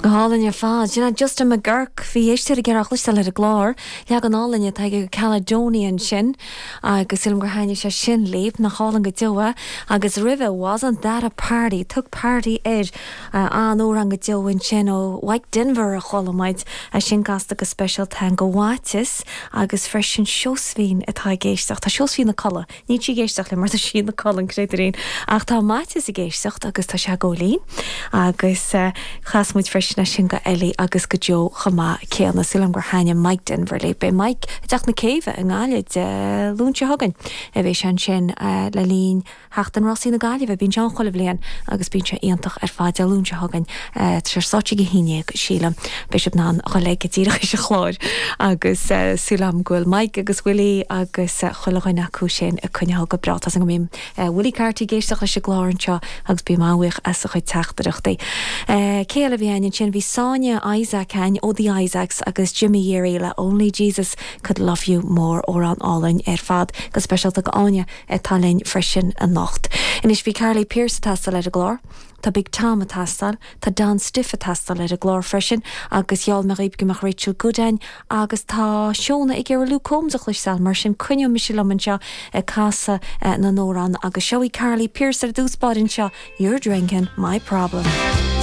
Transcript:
Go hálainn ar fad. Sin é Justin McGuirk. Bhí éisteoir ag iarraidh a chloisteáil ar an gclár. Leagan álainn atá aige de Caledonia ansin agus sílim gur thaitnigh sé sin libh. Nach álainn go deo é. Agus roimhe, Wasn't That a Party? Tug Party air. An-amhrán go deo ansin ó Mike Denver a chuala muid. É sin casta go speisialta againn do Mhaitias agus freisin Seosaimhín atá ag éisteacht. Tá Seosaimhín ina codladh. Níl sí ag éisteacht linn mar tá sí ina codladh, an créatúirín. Ach tá Maitias ag éisteacht agus tá sé ag gabháil fhoinn. Agus chas muid freisin é sin go Ellie agus go Joe chomh maith céanna. Súil agam gur thaitnigh Mike Denver libh. Beidh Mike i dTeach na Céibhe i nGaillimh Dé Luain seo chugainn. Beidh sé ansin le linn Sheachtain Rásaí na Gaillimhe. Bíonn sé ann chuile bhliain agus bíonn sé iontach ar fad. Dé Luain seo chugainn. Tá sé ar stáitse ag a 11, sílim. Beidh sibh in ann a dhul ag díreach théis an chláir agus súil agam go bhfuil Mike agus Willie agus chuile dhuine acu sin ag coinneáil go breá. Tá 's agam go mbíonn Willie Carty ag éisteacht leis an gclár anseo agus bím an-bhuíoch as a chuid teachtaireachtaí. Cé eile a bhí againn ansin? Bhí Sonia Isaac againn ó The Isaacs agus Jimmy Yeary le Only Jesus Could Love You More, amhrán álainn ar fad, go speisialta go Áine atá linn freisin anocht. Anois bhí Carly Pearce ag teastáil ar an gclár. Tá Big Tom ag teastáil, tá Don Stiffe ag teastáil ar an gclár freisin agus gheall mé dhaoibh go mbeadh Rachel Goode againn agus tá Shona ag iarraidh Luke Combs a chloisteáil mar sin coinneoidh mise liom anseo ag casadh na n-amhrán agus seo í Carly Pearce ar dtús báire anseo, You're Drinking My Problem.